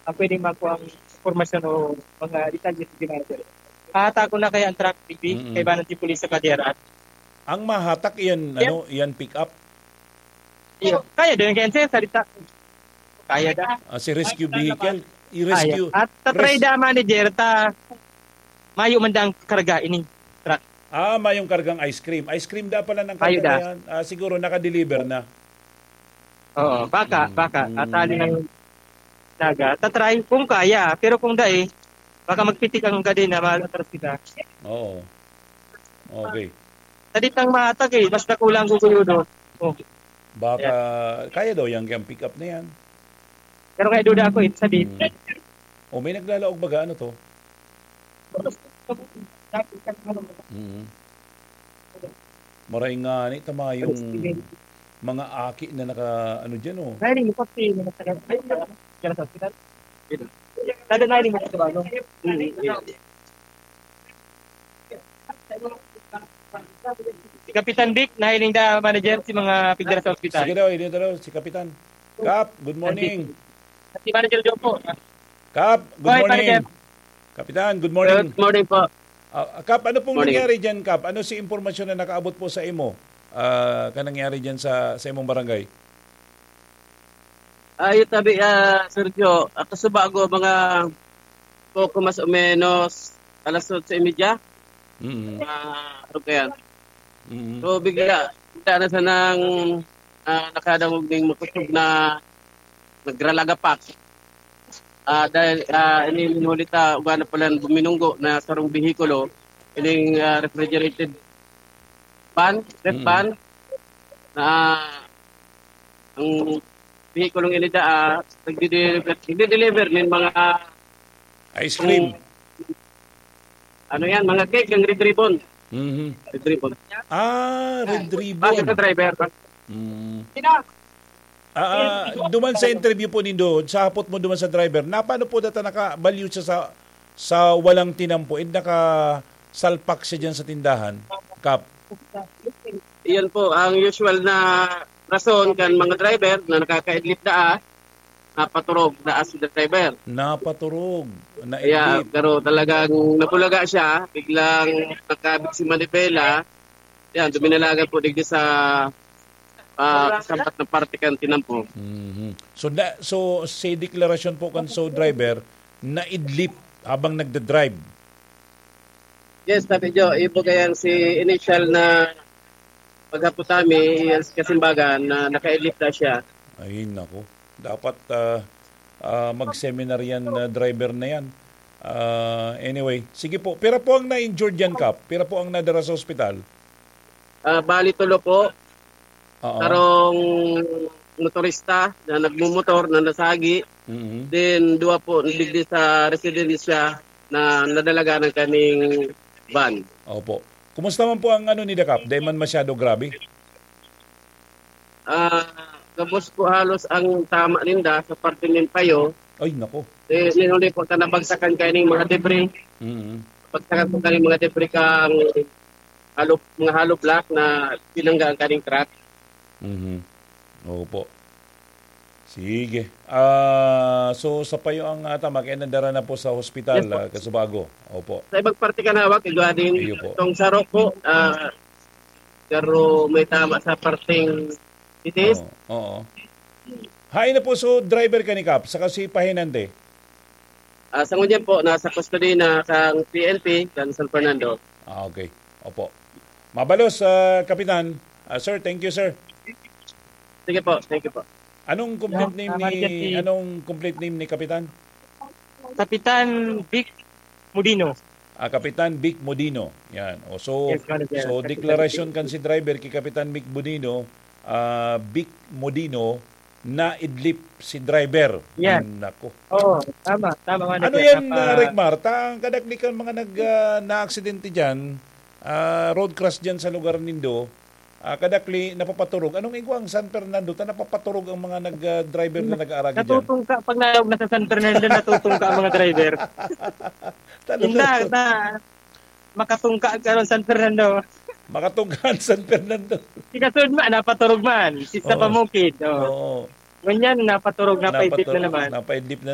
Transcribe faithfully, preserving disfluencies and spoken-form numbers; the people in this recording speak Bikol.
ah, pwedeng makuha ang impormasyon o mga detalye sa manager. Hahatak ko na kaya ang truck, B B, Mm-mm. kaibanan si pulis sa kadera. Ang mahatak iyan, Yep. ano, iyan pick up? Iyo, kaya din kaya, sir, salita. Kaya da. Ah, si rescue vehicle, i-rescue, Kaya. At tatry res- da manager, ta mayo man dang karga ini truck. Ah, mayong kargang ice cream. Ice cream da pala ng Mayo karga da. na yan. Ah, siguro naka-deliver na. Oo, baka, Mm, baka. mm. At hali ng daga. Tatry kung kaya, pero kung dai, baka magpitik ang kadena, maatras kita. Oo. Okay. Sa di tang mahatag eh, mas nakulang guguyudo. Oh. Baka, kaya daw yan, yung pick up na yan. Pero kaya duda ako eh, sa di. Mm. O, may naglalaog baga, ano to? Mm. Maray nga ni, tama yung mga aki na naka, ano dyan, oh. Ay, hindi ko si, ay, sa hospital. Dada na, hindi mo sa ano. Si Kapitan Vic, nahiling da manager si mga pigdara sa ospital. Sige daw, hindi daw, si Kapitan. Kap, good morning. Si Manager Joe po. Kap, good Hoy, morning. Manager. Kapitan, good morning. Good morning po. Ah, Kap, ano pong Morning. nangyari dyan, Kap? Ano si impormasyon na nakaabot po sa imo, ah, ka nangyari dyan sa, sa imong barangay? Ayo tabi, ah, Sergio, ah, kasubago mga poko mas o menos alas otso y media. Mm. Ah, ano kaya? Mm. So, bigla, bigla na sanang, ah, nakadangog ning makusog na nagralagapak. Ah, dahil, ah, ini minuli ta, ugana pala buminunggo na sarong behikulo, ining, ah, refrigerated van, ref Mm. van, na ang behikulong ini daa, nagdideliver, nagdideliver nin mga Ice cream. ano yan, mga cake, yung Red Ribbon. Mhm. Red Ribbon. Ah, Red Ribbon. Base sa driver. Mm. Ah, ah, duman sa interview po nindo, sa hapot mo duman sa driver, na paano po data nakabalyo siya sa, sa walang tinampo? And nakasalpak siya dyan sa tindahan, Kap? Iyon po, ang usual na rason kan mga driver na nakakaidlip daa, napaturog daa si driver. Napaturog, Kaya, naidlip. pero talagang nabulaga siya, biglang nakabig si manibela. Yan, duminalagan po digdi sa, ah, sampat na parte kan tinampo. Mhm. So, na, so, si deklarasyon po kan so driver, naidlip habang nagda-drive. Yes, Tabi Jo, ibo kayang si initial na paghapot kami, yes, kasimbagan na nakaidlip na siya. Ay, nako. Dapat, ah, ah, mag-seminar yan na driver na yan. Ah, anyway, sige po. Pira po ang na-injured yan, Kap? Pira po ang nadara sa ospital? Ah, bali tulo po. Oo. Sarong motorista na nagmumotor na nasagi. Mhm. Then, duwa po digdi sa residensya na nadalagan ng kaming van. Opo. Kumusta man po ang ano ni Dakap? Di man masyado grabe? Ah, gabos po halos ang tama ninda sa parte nin payo. Ay, nako. Eh, ninuli po sa nabagsakan kaning mga debris. Mhm. Bagsakan po kaning mga debris kang hollow, mga hollow block na pinangga ang kaning truck. Mhm. Opo. Sige. Ah, so, sa payo ang, ah, tama, kaya nadara na po sa hospital, Yes po. ah, Kasubago. Opo. Sa ibang parte kan hawak, igwa din Iyo po. itong saro po, ah, pero may tama sa parteng titis. Oo, oo. Hain na po, so, driver ka ni Kap, saka si Pahinante? Ah, sa ngunyan po, nasa custody na kang P N P, kan San Fernando. Ah, okay. Opo. Mabalos, ah, Kapitan. Ah, sir, thank you, sir. Sige po, thank you po. Anong complete Yeah, name tama ni, siya si anong complete name ni Kapitan? Kapitan Vic Modino. Ah, Kapitan Vic Modino. Yan. O, so, Yes, Manager. so, Kapitan deklarasyon Vic. kan si driver kay Kapitan Vic Modino, ah, Vic Modino, naidlip si driver. Yan. Nako. Oo, tama, tama, Manager. Ano yan, Napa- ah, Rick Mar? Ta, ang kadakli kan mga nag, ah, naaksidente dyan, ah, road crash dyan sa lugar nindo, ah, kadakli, napapaturog. Anong igwa ang San Fernando? Ta napapaturog ang mga nag, ah, driver na nag-aaragi dyan. Natutungka, pag naog na sa San Fernando, natutungka ang mga driver. Talaga. Hindi, na, makatungka ka ron San Fernando. Makatungka ang San Fernando. Si Kasud man, napaturog man. Si sa Oo. Pamukid, oh. Oo. Ngunyan, napaturog, napaidlip na Napaturog, naman. napaidlip na